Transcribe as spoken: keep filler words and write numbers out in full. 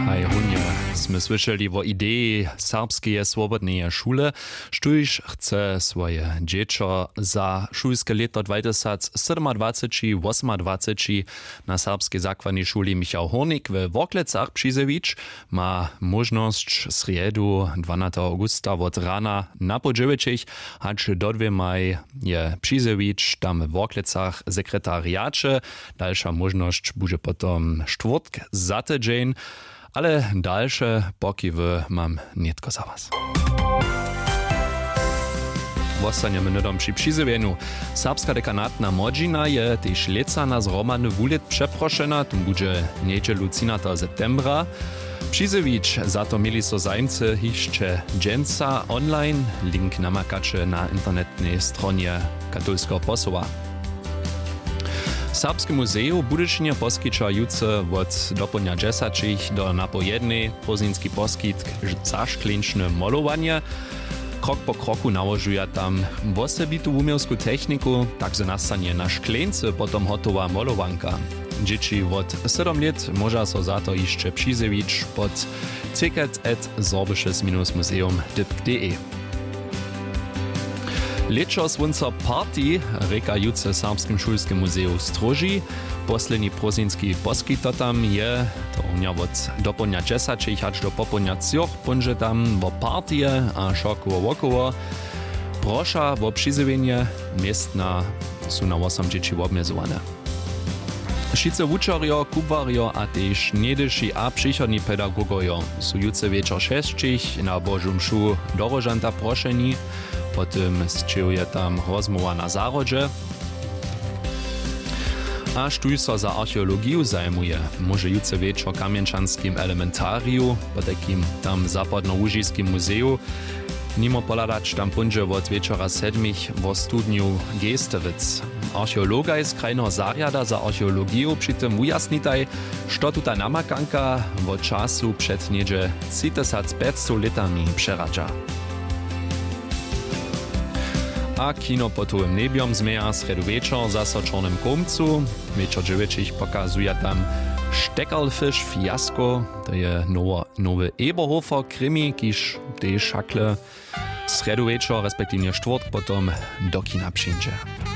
A runje smy słyšeli wo ideji serbskeje swobodneje šule, štóž chce swoje dźěćo za šulske lěto dwajtysacsydomadwaceći wosomadwaceći na serbskej zakładnej šuli Michał Hórnik we Worklecach přizjewić, ma móžnosć srjedu dwanateho awgusta wot rana napoł dźewjećich hač do dwěmaj je přizjewić tam we Worklecach w sekretariaće. Dalša móžnosć budźe potom štwórtk za tydźeń, ale dalše pokiwy mam nětko za was. Wostanjemy hnydom při přizjewjenju. Serbska dekanatna młodźina je tež lětsa na zhromadny wulět přeprošena, tón budźe njedźelu třinateho septembra. Přizjewić za to měli so zajimcy hišće dźensa online. Link namakaće na internetnej stronje katolskeho posoła. Serbski muzej w Budyšinje poskića jutře wot dopołdnja dźesaćich do napoł jednej prózdninski poskitk za škleńčne molowanje. Krok po kroku nałožuja tam wosebitu wuměłsku techniku, tak zo nastanje na škleńcy potom hotowa molowanka. Dźěći wot sydom lět móža so za to hišće přizjewić pod ticket at sorbisches minus museum dypk de. Lěćo słónco party rěka jutře w Serbskim šulskim muzeju w Stróži. Posledni prózdninski poskitotam je to runja wot dopołdnja dźesaćich hač do popołdnja třoch. Póńdźe tam wo partije a wšokoło wokoło. Proša wo přizjewjenje, městna su na wosom dźěći wobmjezowane. Wšitcy wučerjo, kubłarjo a tež něhdyši a přichodni pedagogojo su jutře wječor šesćich na božu mšu do róžanta prošeni. Po tym sćěhuje tam rozmołwa na zahrodźe. A štóž so za archeologiju zajimuje, móže jutře wječor w kamjenčanskim elementariju, potajkim tam w zapadnołužiskim muzeju, nimo pohladać. Tam póńdźe wot wječora sedmich wo studnju geestewitz. Archeologaj z krajneho zarjada za archeologiju při tym wujasnitaj, što tuta namakanka wo času před něhdźe tři tysac pjećstow lětami přeradźa. A kino pod hołym njebjom změja srjedu wječor zaso w čornym kołmcu. Wječor dźewjećich pokazuja tam štekerlfiš fiasko. To je nowy eberhofer krimi kiž tež hakle srjedu wječor respektiwnje štwórtk potom do kina přińdźe.